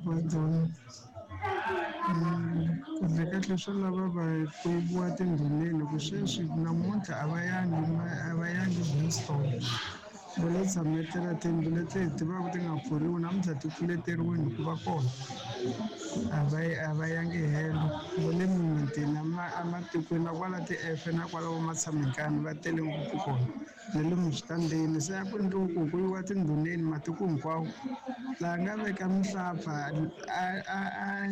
Va dyondza. Kahle kahle swo lava va yiviwa tindhuneni ku sweswi namuntlha a va yangi a va yangi Winston. Va lo tshametela tiyindlu leti hi tivaka ti nga pfuriwi namuntlha ti pfuleteriwini ku va kona. A va a va yangi helo. Va le mimitini ematikweni na kwala ti-F na kwala vo Matshamekani va tele ngopfu kona. Na le switandini se a ku endliwi ku ku yiwa tindhuneni matiko hinkwawo. Laha nga veka mihlapfa a a a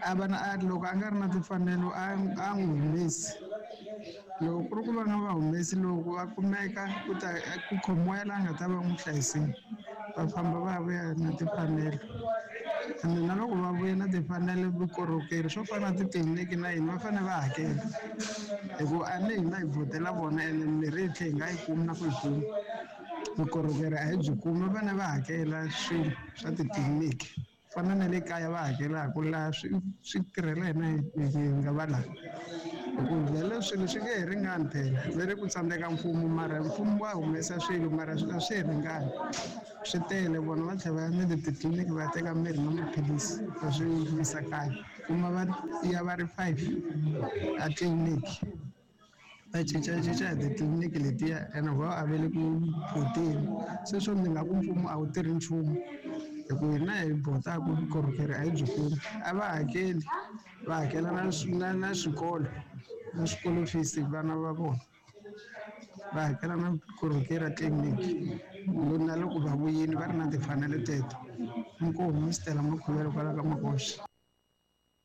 a va na a loko a nga ri na timfanelo a a n'wi humesi. Loko ku ri ku va nga va humesi loko va kumeka ku ta ku khomiwa yala a nga ta va n'wi hlayisile va famba va ya vuya na timfanelo. Ende na loko va vuya na timfanelo vukorhokeri swo fana na titliliniki na yini va fanele va hakela hikuva a ni hina hi vhotela vona ene mimirhi hi tlhela hi nga yi kumi na ku yi kuma. Vukorhokeri a hi byi kumi va fanele va hakela swilo swa titliliniki. Fana na le kaya va hakelaka laha swi swi tirhela hina hi nga va laha hi ku vhele swilo swi nge he ringani phela ve ri ku tsandzeka mfumo mara mfumo wa humesa swilo mara a swi he ringani swi tele vona va tlhela va ya na le titliliniki va ya teka mirhi na maphilisi va swi yisa kaya kuma va ya va ri 5 a tliliniki. Va cincacinca hi titliliniki letiya ene va a va le ku vhoteni sweswo ni nga ku mfumo a wu tirhi nchumu hi ku hina hi vhotaka vukorhokeri a hi byi kumi a va hakeli va hakela na na na swikolo na swikolo fees vana va vona va hakela na vukorhokeri a tliliniki na loko va vuyile va ri na timfanelo teto inkomu Stella Makhuvele kwala ka Makoxa.